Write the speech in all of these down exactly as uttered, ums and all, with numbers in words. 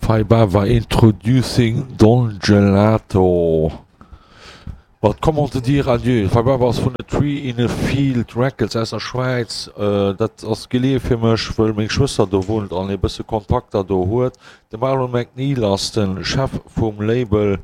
Fai Bava introducing Don Gelato mat Comment te dire adieu. Fai Bava ass vun A Tree in a Field Records aus der Schwäiz. Dat ass geleeë fir mech, wëll meng Schwëster do wunnt an ee bësse Kontakter do huet. De Marlon McNeil ass de Chef vum Label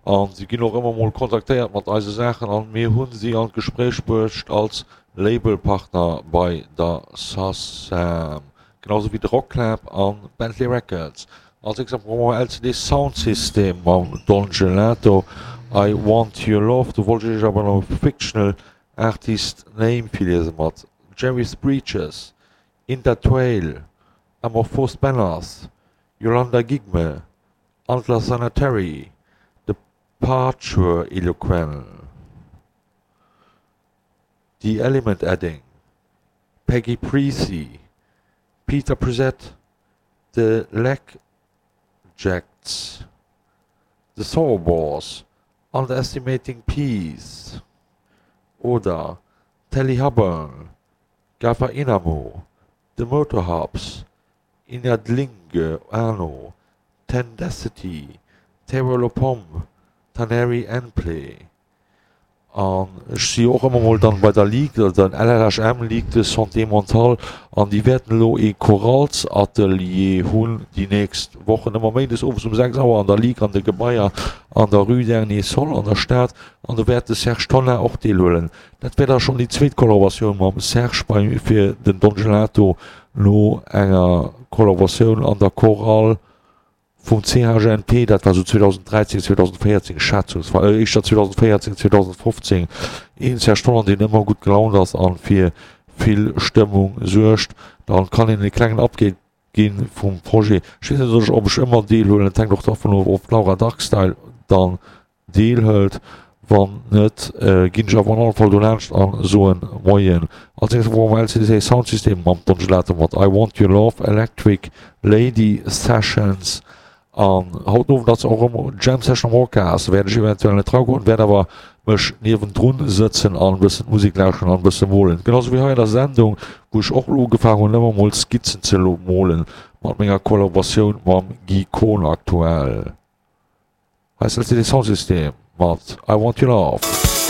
an si ginn och ëmmer mol kontaktéiert mat eise Saachen an mir hunn si an d'Gespréich bruecht als Labelpartner bei der SACEM, genau sou wéi de Rocklab an Bentley Records. Als nächst brauche mer LCD Soundsystem mam Don Gelato, I Want Your Love. Do wollt ech iech awer nach Fictional Artist Name virliese mat Jerry's Breeches, Inda Trail, Amorphous Banners, Yolanda Gigme, Antler Sanitary, Departure Eloquent, The Element Adding, Peggy Precy, Peter Prezet, The Leg Jacks, The Sawboss, Underestimating Peace oder Telly Hubbard, Gaffer Inamo, The Motorhubs, Inadlinge Arno, Tendacity, Terror Lopombe, Taneri Enplay. An ech si och ëmmer mol dann bei der Ligue, der LLHM Ligue de Santé Mentale, an déi wäerten elo ee Choralsatelier hunn déi nächst Wochen, ëmmer méindes owes um sechs Auer an der Ligue an de Gebaier an der Rue Dernier Sol an der Stad, an do wäert de Serge Tonnar och deelhuelen. Dat wär da schonn déi zweet Kollaboratioun mam Serge bei fir den Don Gelato no enger Kollaboratioun an der Chorale vum CHNP, dat war sou zweedausenddräizéng, zweedausenddvéierzéng schätzungsweis, äh, éischter zweedausenddvéierzéng, zweedausenddfofzéng, een Serge Tonnar, deen ëmmer gutt gelaunt ass an fir vill Stëmmung suergt. Dann kann een e klengen Update ginn vum Projet. Ech weess net, ob ech ëmmer deelhuelen, et hänkt och dervun of, ob d'Laura Darkstyle dann deelhëlt. Wann net, ginn ech awer an alle Fall dolaanscht a soen Moien. Als nächstes brauche mer LCD Soundsystem mam Don Gelato mat I Want Your Love, Electric Lady Sessions. An haut den Owend ass och erëm Jam Session am Orcas. Wäert ech eventuell net dragoen, wäert awer mech niewendrun sëtzen an e bëssen d'Musek lauschteren an e bësse molen. Genau sou wéi hei an der Sendung, wou ech och elo ugefaangen hunn ëmmer mol Skizzen ze molen mat menger Kollaboratioun mam Guy Kohn aktuell. Hei ass LCD Soundsystem mat I Want Your Love.